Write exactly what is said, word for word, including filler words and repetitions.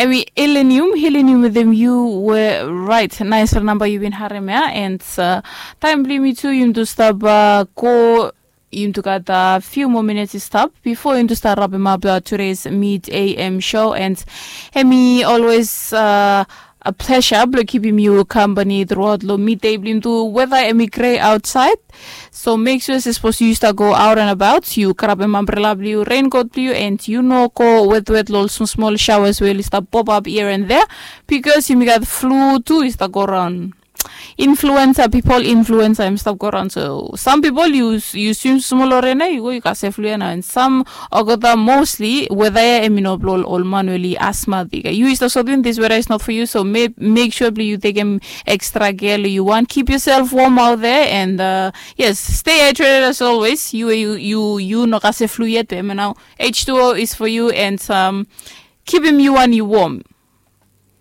Em i Helenium, Helenium wetem yu we rait. Naisfala namba yu bin harem ya, and taem blong yumi tu yumi tu stap go, yumi tu gat a few more minutes i stap before yumi tu stap wrap him up uh, today's mid A M show, and em i always uh, a pleasure blong kipim yu company throughout lo midday blong yumi tu, whether em i gray outside. So make sure se sapos yu stap go out and about, yu grabim umbrella blong yu, raincoat blong yu, and yu no go wetwet lo ol small small showers we oli stap pop up here and there, because yumi gat flu tu i stap go raun. Influenza, people influenza em stap go raun. So some people yu yu swim small lo rain, yu go yu kasem flu ya nao, and some olgeta, mostly weda ya em i no blong ol man we oli asthmatic. Yu i stap sotwin, this weather is not for you, so make sure blong yu tekem extra care lo yu wan. Keep yourself warm out there, and uh, yes, stay hydrated as always. Yu yu yu yu no kasem flu yet, be em nao H two O is for you, and um, kipim yu wan yu warm.